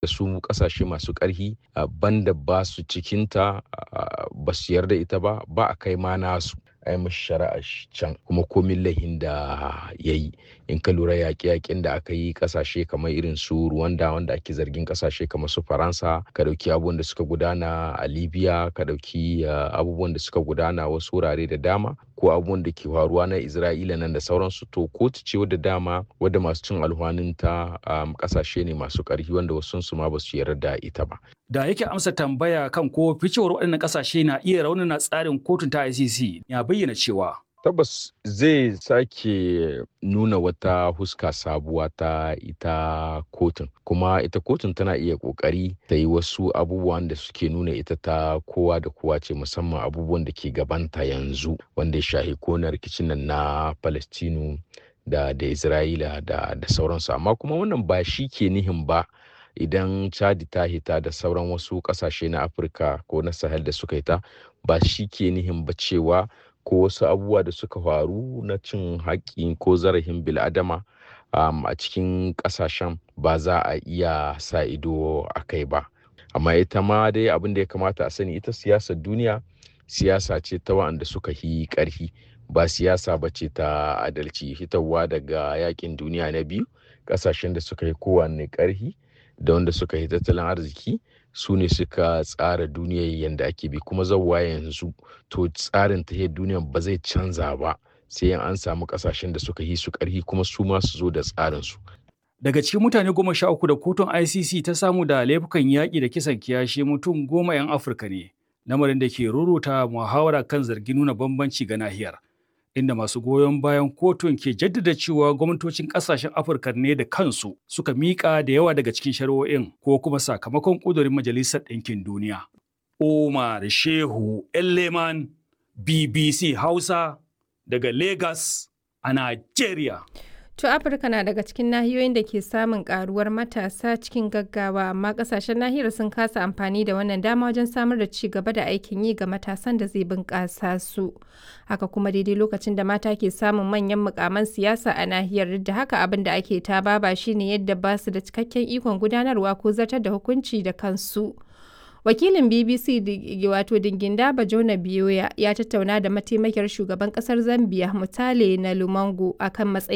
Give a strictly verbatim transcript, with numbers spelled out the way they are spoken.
Su ƙasashe masu ƙarhi banda ba su cikinta, ba su yarda ita ba, ba a kai ma nasu a yi mashi shari'a can kuma komin laihin da ya yi. In ka lura yaƙe-yaƙen da aka yi ƙasashe kamar irin su Rwanda, wanda ake zargin ƙasashe kamar su Faransa, ka ɗauki abubuwan da suka gudana a Libya, ka ɗauki abubuwan da suka gudana wasu wurare da dama, ko abubuwan da ke faruwa na Isra'ila nan da sauransu. To, kotu ce wadda dama wadda masu cin alhwaninta ƙasashe ne masu ƙarfi, wanda wasunsu ma ba su yarda ita ba. Da yake amsa tambaya kan ko ficewar waɗannan ƙasashe na iya raunana tsarin kotun ta I C C, ya bayyana cewa Tabbas zai sake nuna wata huska sabuwa ta ita kotun, kuma ita kotun tana iya kokari ta yi wasu abubuwan da suke nuna ita ta kowa da kowa ce, musamman abubuwan da ke gabanta yanzu wanda ya shahi kona rikicin nan na Palestinu da da Isra'ila da da sauransu. Amma kuma wannan ba shi ke nihin ba idan Chadi ta hita da sauran wasu kasashe na Afirka ko na Sahel da suka hita, ba shi ke nihin ba cewa ko wasu abubuwa da suka faru na cin haƙƙi ko zarafin bil'adama um, a cikin ƙasashen ba za a iya sa ido a kai ba. Amma ita ma dai abin da ya kamata a sani, ita siyasar duniya siyasa ce ta wa'anda suka yi ƙarfi, ba siyasa ba ce ta adalci. Hitarwa daga yakin duniya na biyu, ƙasashen da suka yi kowanne ƙarfi da wanda suka yi tattalin arziki su ne suka tsara duniyar yadda ake bi kuma zauwa yanzu. To, tsarin tahiyar duniyar ba zai canza ba sai an samu kasashen da suka yi su karhi kuma su ma su zo da tsarin su. Daga cikin mutane goma sha uku da kotun I C C ta samu da laifukan yaƙi da kisan kiyashi, mutum goma 'yan Afirka ne, lamarin da ke ruruta muhawara kan zargin nuna bambanci ga nahiyar, inda masu goyon bayan kotun ke jaddada cewa gwamnatocin kasashen Afirka ne da kansu suka miƙa da yawa daga cikin shari'o'in ko kuma sakamakon ƙudurin Majalisar Ɗinkin Duniya. Umar Shehu Elleman, B B C Hausa, daga Lagos a Nigeria. To, Afirka na daga cikin nahiyoyin da ke samun karuwar matasa cikin gaggawa, amma kasashen nahiyar sun kasa amfani da wannan dama wajen samar da ci gaba da aikin yi ga matasan da zai bunƙasa su. Haka kuma, daidai lokacin da mata ke samun manyan mukaman siyasa a nahiyar, duk da haka abin da ake ta baba shine yadda ba su da cikakken ikon gudanarwa ko zartar da hukunci da kansu. Wakilin B B C, wato Dinginda Bajona Biyoya, ya tattauna da mataimakiyar shugaban kasar Zambia, Mutale na Lumango, akan matsayin